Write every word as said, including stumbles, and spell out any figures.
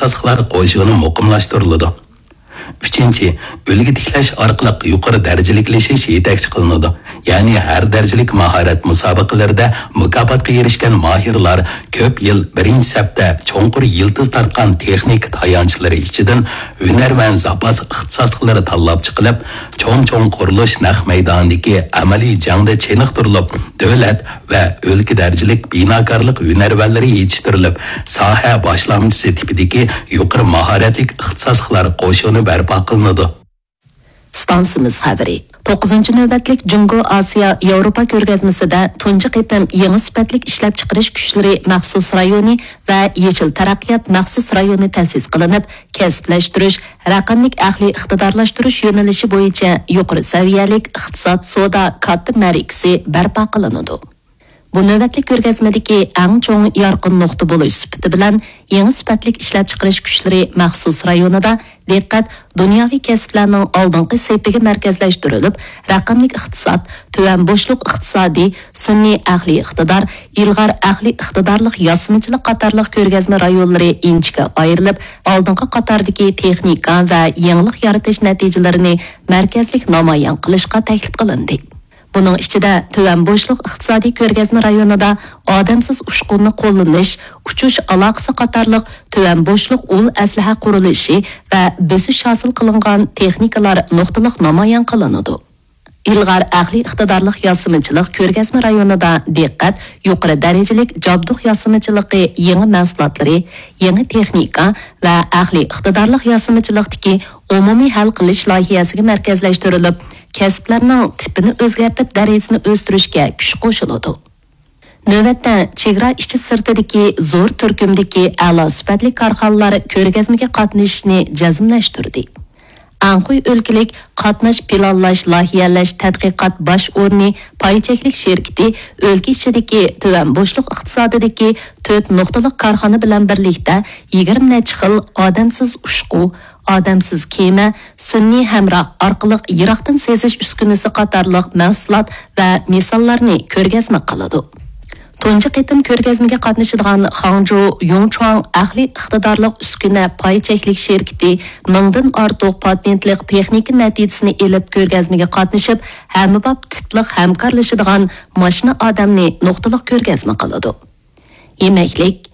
ئىختىساسلىقلار قوشۇنى مۇقىملاشتۇرۇلىدۇ. ئۈچىنچى، ئۈلگە تىكلەش ئارقىلىق يۇقىرى دەرىجىلىكلىشىش يېتەكچى قىلىنىدۇ. يەنى ھەر دەرىجىلىك ماھارەت مۇسابىقىلىرىدە مۇكاپاتقا ئېرىشكەن ماھىرلار كۆپ يىل بىرىنچى سەپتە چوڭقۇر يىلتىز تارتقان تېخنىكا تايانچلىرى ئىچىدىن ھۈنەرۋەن زاپاس ئىختىساسلىقلىرى تاللاپ چىقىلىپ، چوڭ-چوڭ قۇرۇلۇش نەق مەيدانىدىكى ئەمەلىي جەڭدە چېنىقتۇرۇلۇپ، دۆلەت ۋە ئۆلكە دەرىجىلىك بىناكارلىق ھۈنەرۋەنلىرى يېتىشتۈرۈلۈپ، ساھە باشلامچىسى تىپىدىكى يۇقىرى ماھارەتلىك ئىختىساسلىقلار قوشۇنى بەرپا قىلىنىدۇ. ئىستانسىمىز خەۋىرى. توققۇزىنچى نۆۋەتلىك جۇڭگو ئاسىيا ياۋروپا كۆرگەزمىسىدە تۇنجى قېتىم يېڭى سۈپەتلىك ئىشلەپچىقىرىش كۈچلىرى مەخسۇس رايونى ۋە يېشىل تەرەققىيات مەخسۇس رايونى تەسىس قىلىنىپ، كەسىپلەشتۈرۈش، رەقەملىك ئەقلىي ئىقتىدارلاشتۇرۇش يۆنىلىشى بويىچە يۇقىرى سەۋىيەلىك ئىقتىساد سودا كاتتا مەرىكىسى بەرپا قىلىنىدۇ. بۇ نۆۋەتلىك كۆرگەزمىدىكى ئەڭ چوڭ يارقىن نۇقتا بولۇش سۈپىتى بىلەن، يېڭى سۈپەتلىك ئىشلەپچىقىرىش كۈچلىرى مەخسۇس رايونىدا دىققەت دۇنياۋى كەسىپلەرنىڭ ئالدىنقى سېپىگە مەركەزلەشتۈرۈلۈپ، رەقەملىك ئىقتىساد، تۆۋەن بوشلۇق ئىقتىسادى، سۈنئىي ئەقلىي ئىقتىدار، ئىلغار ئەقلىي ئىقتىدارلىق ياسىمىچىلىق قاتارلىق كۆرگەزمە رايونلىرى ئىنچىكە ئايرىلىپ، ئالدىنقى قاتاردىكى تېخنىكا ۋە يېڭىلىق يارىتىش نەتىجىلىرىنى مەركەزلىك نامايان قىلىشقا تەكلىپ قىلىندى. بۇنىڭ ئىچىدە تۆۋەن بوشلۇق ئىقتىسادىي كۆرگەزمە رايونىدا ئادەمسىز ئۇچقۇننى قوللىنىش، ئۇچۇش ئالاقىسى قاتارلىق تۆۋەن بوشلۇق ئۇل ئەسلىھە قۇرۇلۇشى ۋە بۆسۈش ھاسىل قىلىنغان تېخنىكىلار نۇقتىلىق نامايان قىلىنىدۇ. ئىلغار ئەقلىي ئىقتىدارلىق ياسىمىچىلىق كۆرگەزمە رايونىدا دىققەت يۇقىرى دەرىجىلىك جابدۇق ياسىمىچىلىقى يېڭى مەھسۇلاتلىرى، يېڭى تېخنىكا ۋە ئەقلىي ئىقتىدارلىق ياسىمىچىلىقتىكى ئومۇمىي ھەل قىلىش لايىھەسىگە مەركەزلەشتۈرۈلۈپ، كەسىپلەرنىڭ تىپىنى ئۆزگەرتىپ، دەرىجىسىنى ئۆستۈرۈشكە كۈچ قوشۇلىدۇ. نۆۋەتتە، چېگرا ئىچى سىرتىدىكى زور تۈركۈمدىكى ئەلا سۈپەتلىك كارخانىلار كۆرگەزمىگە قاتنىشىشنى جەزملەشتۈردى. ئەنخۇي ئۆلكىلىك قاتناش پىلانلاش لايىھەلەش تەتقىقات باش ئورنى پاي چەكلىك شىركىتى ئۆلكە ئىچىدىكى تۆۋەن بوشلۇق ئىقتىسادىدىكى تۆت نۇقتىلىق كارخانا بىلەن بىرلىكتە يىگىرمە نەچچە خىل ئادەمسىز ئۇچقۇ، ئادەمسىز كېمە، سۈنئىي ھەمراھ ئارقىلىق يىراقتىن سېزىش ئۈسكۈنىسى قاتارلىق مەھسۇلات ۋە مىساللارنى كۆرگەزمە قىلىدۇ. تۇنجى قېتىم كۆرگەزمىگە قاتنىشىدىغان خاڭجۇ يۇڭچۇاڭ ئەقلىي ئىقتىدارلىق ئۈسكۈنە پاي چەكلىك شىركىتى مىڭدىن ئارتۇق پاتېنتلىق تېخنىكا نەتىجىسىنى ئېلىپ، كۆرگەزمىگە قاتنىشىپ، ھەممىباب تىپلىق ھەمكارلىشىدىغان ماشىنا ئادەمنى نۇقتىلىق كۆرگەزمە قىلىدۇ. يېمەكلىك،